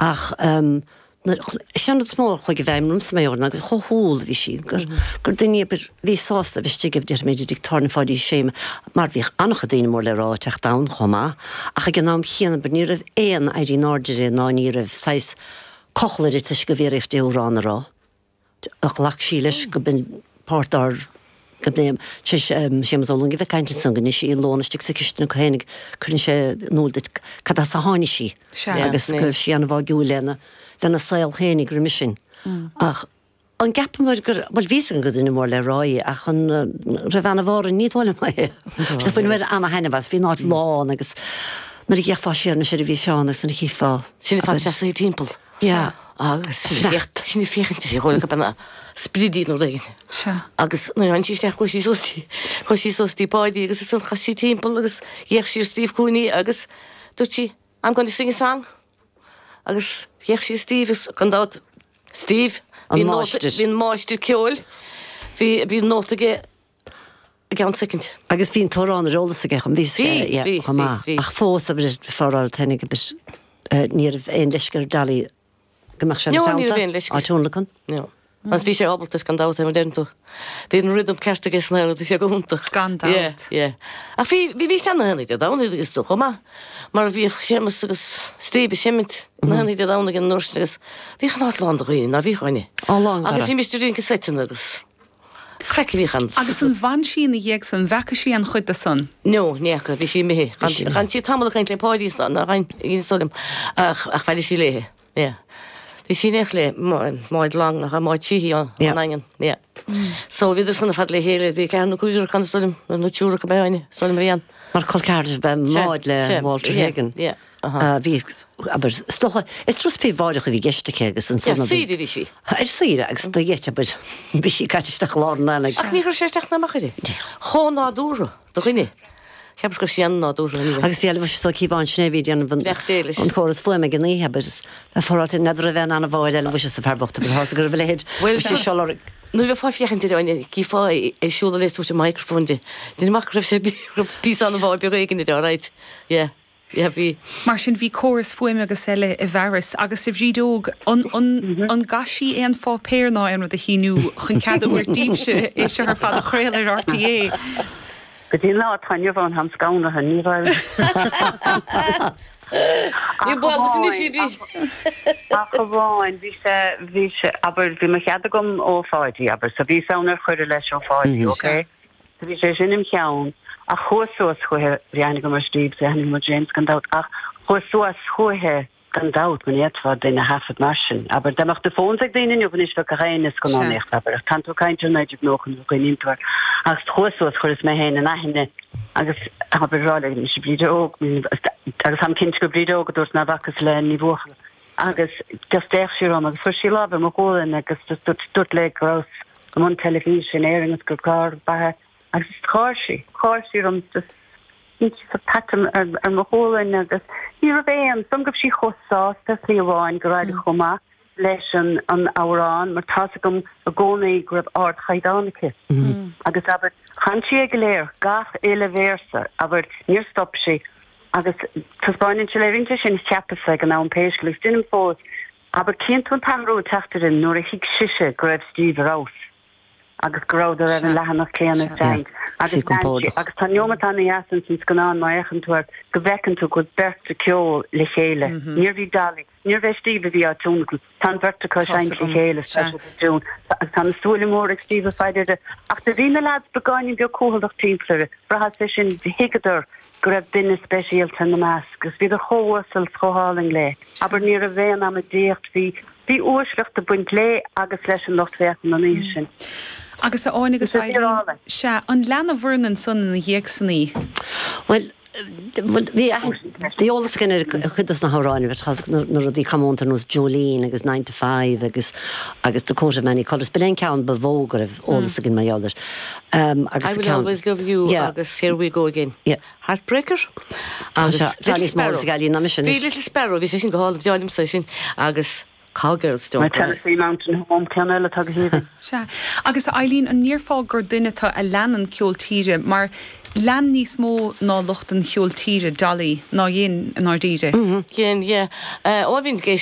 Ach is é an rud is mó a chuaigh i bhfeidhm ormsa mar gheall ná gur chomh humhal a bhí sí, gur gur duine abair bhí sásta a bheith istigh déarfaidh mé i dtigh tábhairne Pháidí Uí Shé mar bhíodh an-chuid daoine mór le rá ag teacht ann chomh maith ach ag an am chéanna abair ní raibh aon éirí in airde uirthi ná ní raibh saghas cochall uirthi toisc go bhfiafraíodh di amhrán a rá. Ghlac sí leis go b'in páirt dár go b'in tar éis Séamus Ó Longaigh a bheith ag caint ansan go n-ith sí an lón istigh sa chistin acu féinig cuireann sé in iúl duit cad as a tháinig sí agus go raibh sí an-bháúil lena lena saol féinig roimhe sin. Ach an gceapamair gur, bhuel bhí 'fhios againn gur duine mór le rá í ach an raibh ana-bharr ní dóigh liom é. So bhaineamar ana-thaitneamh as, bhí an áit lán agus nuair a d'fhéachfá siar anois ar an bhfíseán agus nuair a chífeá. Sin fad seasamh timpeall. Yeah. Agus sin ag féachaint, sin ag féachaint uirthi, dhóigh gurb ina sprid í nó rud éigin. Sea. Agus nuair a tháinig sí isteach chuaigh sí suas dtí, chuaigh sí suas dtí Páidí agus ansan chas sí timpeall agus d'fhéach sí ar Steve Cooney agus dúirt sí, I'm going to sing a song. Agus d'fhéach sí ar Steve agus gan dabht, Steve, An bhí nóta, máistir. bhí an máistir ceoil, bhí, bhí nóta aige i gceann soicind. Agus bhí an t-amhrán ar eolas aige chomh, bhí Bhí, yeah, bhí, chomh bhí, maith. bhí. Ach fós, abair, faraor, tháinig, abair, ní raibh aon leisce ar Dolly go mbeadh sé ina No, ní teannta, raibh aon leisce. á tionlacan. No. Agus bhí sé ábalta, gan dabht, mar a deireann tú. Bhí an rhythm ceart aige san aer, bhí sé go hiontach. Gan dabht. Yeah, yeah. Ach bhí, bhímis ann na haonaigh Dé Domhnaigh is dócha chomh maith, mar bhíodh Séamus agus Steve ag seimint na haonaigh Dé Domhnaigh an uair sin agus bhíodh an áit lán de dhaoine, ná bhíodh Áine? Á, lán, Agus go raibh. bhímis ag rince seiteanna agus. Craic a bhíodh ann. Agus an bhfan sí ina dhiaidh san? Bhfeaca sí aon chuid de san? No, ní fhaca, bhí sí imithe. Bhí sí imithe. Chan sí tamall ag caint le Páidí san, ná chan, is dóigh liom, ach, ach bhailigh sí léithe, yeah. Bhí sí in éineacht le Máid Long, nach ea, Máid Sheehy ón Yeah. nDaingean, yeah. So bhíodar san ar fad le chéile, bhí ceathrar nó cúigear acu, is dóigh liom, nó triúr acu, ab ea, is dóigh liom a bhí ann. Mar col ceathrar ab ea Sea, Máid le sea, Walter yeah, Hagen. yeah, uh-huh. Bhí, abair, is dócha, is turas príobháideach a bhí i gceist aici agus ansan Yeah, a bhí. saoire a bhí sí. Ar saoire agus do gheit, abair, bhí sí caite isteach i lár an aonaigh. Ach ní chuir sé isteach ná amach uirthi. Chomh nádúrtha do dhuine. Cheapas go raibh sí an-nádúrtha anyway. Agus bhí Aloysius Ó Cíobháin, sin é a bhí ag déanamh an Beacht Dé leis. an córas fuaime ag an oíche, abair, is bheith foráilte n'fheadar raibh aon an-bháire Aloysius sa fear bocht, abair, tharla go raibh a leithéid, Bhuel, bhí sé seo lorg. Nuair a bheifeá ag féachaint air, Áine, chífeá é ag siúl le tabhairt an microphone di. Déanaim amach go raibh sé, go raibh píosa an-mhaith beag éigin air, alright. Yeah. Yeah, bhí. Mar sin, bhí córas fuaime agus eile i bhfearas. Agus a Bhríd Óg, an, an, an gcaith sí aon pháipéar ná aon rud a shíniú chun cead a thabhairt daoibhse é seo ar fad a chraoladh ar RTÉ? Go dtí an lá atá inniu ann, táim scanraithe, ní raibh. Ní baol duit anois í, Bhríd. Ach amháin, bhí sé, bhí sé, abair, bhí mo chead agam ó Pháidí, abair, so bhí ann ar cuireadh leis ó Pháidí, ok? So bhí sé sin im cheann, ach chuas suas chuiche, bhí aithne agam ar Steve, bhí aithne agam ar James gan dabht, ach chuas suas chuiche gan dabht, go n'fhéadfá duine a thaifead mar sin. Abair, dá mbeadh na phones ag daoine inniu anois bheadh gach éinne ag scannánaíocht, abair, ach tánn tú ag caint ar 1990 nuair a chuimhníonn tú air. Ach chuas suas, chuireas mé féin in aithne agus abair, rá le mise Bríd Óg, agus táim cinnte gur Bríd Óg a dúirt ná bhfacas le Ní Bhuachalla. Agus just d'fhéach sí orm agus chuir sí lámh ar mo ghualainn agus just dúirt, dúirt léi go rabhas i mbun teilifíse in Éirinn agus gur clár ab ea agus just gháir sí, gháir sí orm just shín sí sórt pat ar, ar mo ghualainn agus ní raibh aon, is dóigh liom go raibh sí chomh sásta ar shlí amháin gur éirigh chomh maith leis an, an amhrán mar tá's agam i gcónaí go raibh ardchaighdeán aici agus abair, chan sí é go léir, gach uile véarsa, abair, níor stop sí. Agus taispeáineann sé, léiríonn sé sin, cheapas ag an am pé scéal, agus deinim fós, abair, cíonn tú an t-athrú ag teacht uirthi nuair a thuig sise go raibh Steve ar fheabhas agus go rabhadar ar an leathanach céanna ag seinnt agus Sí lean sí compordach. agus tá neomat ana-dheas ins an scannán má fhéachann tú air go bhfeiceann tú go bhfuil beirt ag ceol le chéile. Níorbh í Dolly, níorbh é Steve a bhí á tionlacan, tá an bheirt acu ag seinnt le chéile Sea. sa tune agus tá na súile móra ag Steve ar fad uirthi ach do bhí na leaids beagáinín beag cúthaileach timpeall uirthi, bhraitheas é sin, thuigeadar go raibh duine speisialta ina measc agus bhíodar chomh uasal 's chomh hálainn léi. Abair, ní raibh aon amaidíocht, bhí, bhí uaisleacht ag baint léi agus leis an lucht féachana an oíche sin. Agus a Áine Bhí agus sé Eileen, fíor-álainn. sea, an lean an bhfoireann ansan ina dhiaidh san í? Bhuel, bhuel, bhí aithne, bhí eolas againn ar chuid dos na hamhráin, bhí tá na rudaí comónta ar nós Jolene agus Nine to Five agus, agus The Coat of Many Colours. B'in é an ceann ba mhó go raibh eolas againn mar gheall air. Agus I sa Will ceann. Always Love You Yeah. agus Here We Go Again. Yeah. Heartbreaker agus Tá Little níos mó Sparrow. eolas ag Eileen ná mise Bhí anois. Little Sparrow, bhí sé sin go hálainn, bhí liomsa é sin agus Cowgirls My Don't Cry. Tennessee Mountain Home, ceann eile atá go haoibhinn. Sea. Agus a Eileen, an ndéarfá gur duine tú a leanann ceol tíre mar lean níos mó ná lucht an cheoil tíre Dolly ná dhein i ndáiríre? Dhein, yeah. Ó bhínn ag éisteacht.